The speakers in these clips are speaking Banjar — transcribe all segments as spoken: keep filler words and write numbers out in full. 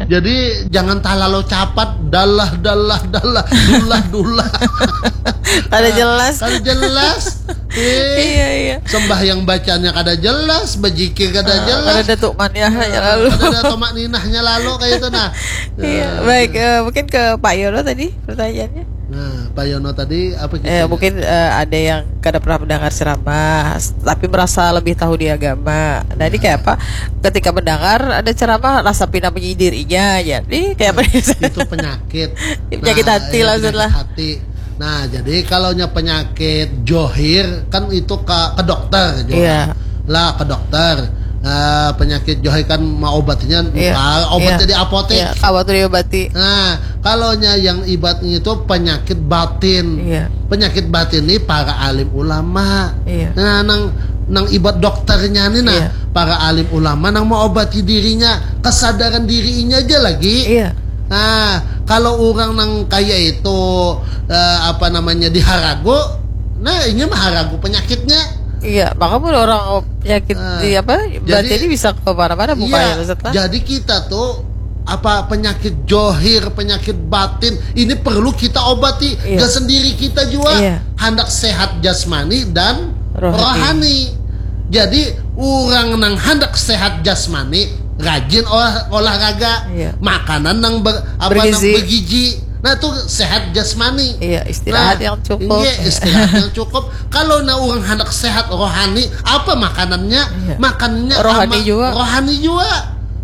Jadi jangan talalu capat, dalah dalah dalah, dulah dulah. Kada jelas. Kada jelas. Eh, Iya, iya. Sembahyang bacanya kada jelas, bejikir kada Ah, jelas. Kada ada tuh maniahnya lalu. Kada ada tumakninahnya lalu kayak itu nah. Iya, Nah, baik. Eh, mungkin ke Pak Yono tadi pertanyaannya. Nah, Pak Yono tadi apa kita? Eh, mungkin eh, ada yang kada pernah mendengar ceramah, s- tapi merasa lebih tahu di agama. Nah, ini kayak apa? Ketika mendengar ada ceramah, rasa pina menyindir inya aja. Ini kayak apa? Itu penyakit. Penyakit hati iya, lah, penyakit maksudlah. Hati. Nah, jadi kalau nya penyakit johir kan itu ke ke dokter juga. Iya. Lah ke dokter. Nah, penyakit johir kan mau obatnya Iya. ah, obatnya Iya. di apotek. Iya, kawan tuh diobati. Nah, kalau nya yang ibatnya itu penyakit batin. Iya. Penyakit batin ini para alim ulama. Iya. Nah, nang nang ibat dokternya nih nah, Iya. para alim ulama nang mau obati dirinya, kesadaran dirinya aja lagi. Iya. Nah, kalau orang nang kaya itu eh, apa namanya diharagu, nah ini mah haragu penyakitnya. Iya, maka pun orang penyakit Ah, di apa? Berarti jadi- ini bisa ke mana-mana bukannya Iya, Ustaz lah. Jadi kita tuh apa penyakit johir, penyakit batin ini perlu kita obati. Iya. Gak sendiri kita juga. Iya. Hendak sehat jasmani dan Rohani. rohani. Jadi orang nang hendak sehat jasmani rajin olah, olahraga, Iya. makanan nang ber, apa Bergizi. nang bergizi. Nah tuh sehat jasmani. Iya, istirahat Nah, yang cukup. Iya, istirahat yang cukup. Kalau nah orang hendak sehat rohani, apa makanannya? Iya. Makannya Rohani ama- juga. Rohani juga.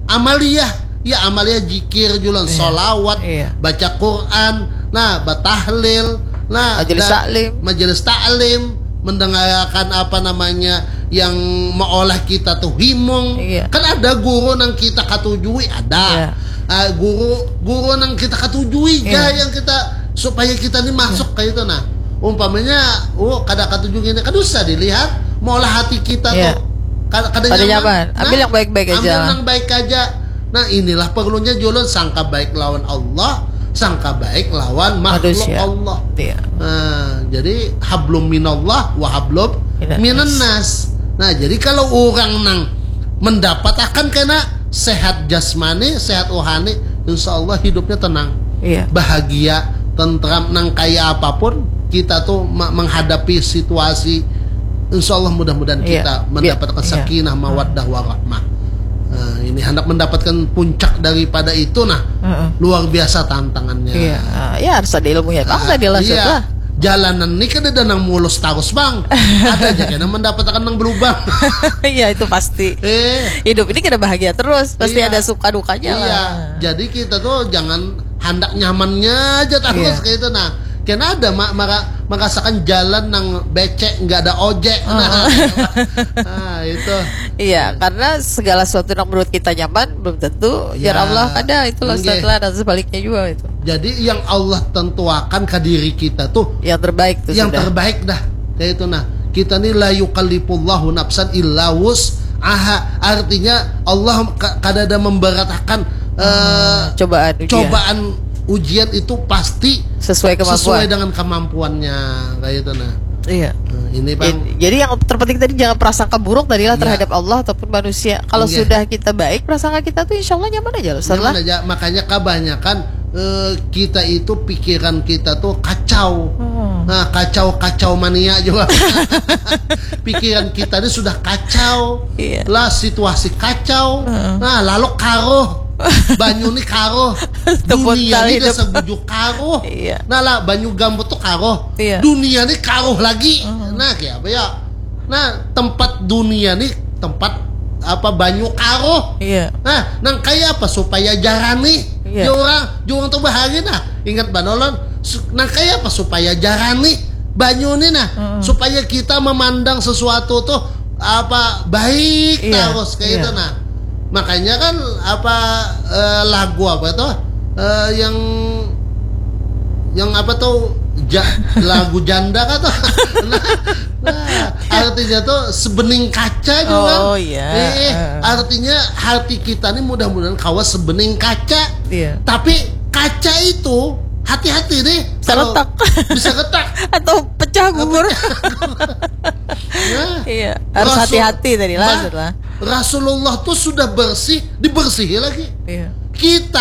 Amaliah, ya amaliah jikir julan, solawat, Iya. baca Quran, nah batahlil, nah Majelis da- taklim. Majelis taklim, mendengarkan apa namanya yang meolah kita tuh himung. Iya. Kan ada guru nang kita katujui ada. Iya. Ah, guru guru nang kita katujui Iya. yang kita supaya kita nih masuk kayak itu nah. Umpamanya, oh kada katujui ini kan usah dilihat, meolah hati kita Iya. tuh. Kada, kada Kada nyaman. nyaman. Ambil Nah, yang baik-baik aja ambil lah. yang baik aja. Nah inilah perlunya julun sangka baik lawan Allah, sangka baik lawan makhluk Manusia. Allah. Iya. Nah, jadi hablum minallah wa hablum Minannas. minannas. Nah, jadi kalau orang nang mendapat akan kena sehat jasmani, sehat rohani, insya Allah hidupnya tenang, Iya. bahagia, tentram, nang kaya apapun kita tuh ma- menghadapi situasi, insya Allah mudah-mudahan Iya. kita Biar- mendapatkan iya. sakinah, mawaddah, warahmah. Nah, ini hendak mendapatkan puncak daripada itu, nah Heeh. luar biasa tantangannya. Iya, ah, ya harus ada ilmunya. Bang Ah, tadi lah iya. Sudah. Jalanan ini kan ada nang mulus terus bang. Ada aja kena mendapatkan nang berlubang. Iya, itu pasti. Eh, Hidup ini kada bahagia terus, pasti Iya. Ada suka dukanya Iya, lah. Jadi kita tuh jangan hendak nyamannya aja terus Iya. Kayak itu nah. Kena ada ma- mara- merasakan jalan nang becek nggak ada ojek. Nah, nah, itu. Iya, karena segala sesuatu yang menurut kita nyaman belum tentu. Ya Ya, Allah kada itu lah nggih. Setelah dan sebaliknya juga itu. Jadi yang Allah tentuakan ke diri kita tuh Yang terbaik tuh yang sudah. Terbaik dah kayak itu nah. Kita nih la yukallifullahu nafsan illa wus'aha. Artinya Allah ka- kada ada memberatkan eh, Cobaan ujian. Cobaan ujian itu pasti Sesuai kemampuan. Sesuai dengan kemampuannya kayak itu nah. Iya. Nah, ini bang. Jadi, jadi yang terpenting tadi jangan prasangka buruk tadi lah Iya. Terhadap Allah ataupun manusia. Kalau Iya. Sudah kita baik prasangka kita tuh insya Allah nyaman aja loh. Setelah Nyaman aja. Makanya kebanyakan eh, kita itu pikiran kita tuh kacau. Hmm. Nah, kacau-kacau mania juga. Pikiran kita ini sudah kacau. Iya. Lah situasi kacau. Heeh. Nah, lalu karuh. Banyu nih karuh. Tepuk Dunia tali ini udah dep- sebujuk karuh. Iya. Nah, lah banyu gambut tuh karuh. Iya. Dunia nih karuh lagi. Nah, kayak apa ya? Nah, tempat dunia nih tempat apa banyu karuh. Iya. Nah, nang kaya apa supaya jarani? Iya. Ya orang, ya orang tuh bahari nah. Ingat banolon, su- nang kaya apa supaya jarani banyu nih nah, Mm-mm. Supaya kita memandang sesuatu tuh apa baik Iya, terus kayak iya. Itu nah. Makanya kan apa eh, lagu apa tuh? Eh, yang yang apa tuh ja- lagu janda kan tuh. Nah, nah, artinya tuh sebening kaca juga. Oh, iya. Eh, eh, Heeh. Artinya hati kita nih mudah-mudahan kawa sebening kaca. Iya. Tapi kaca itu hati-hati nih. Bisa Kalau retak. Bisa retak. Atau pecah gugur. Nah, Iya, harus Rasul- hati-hati tadi lah Bah, setelah. Rasulullah tuh sudah bersih, dibersihi lagi. Iya. Kita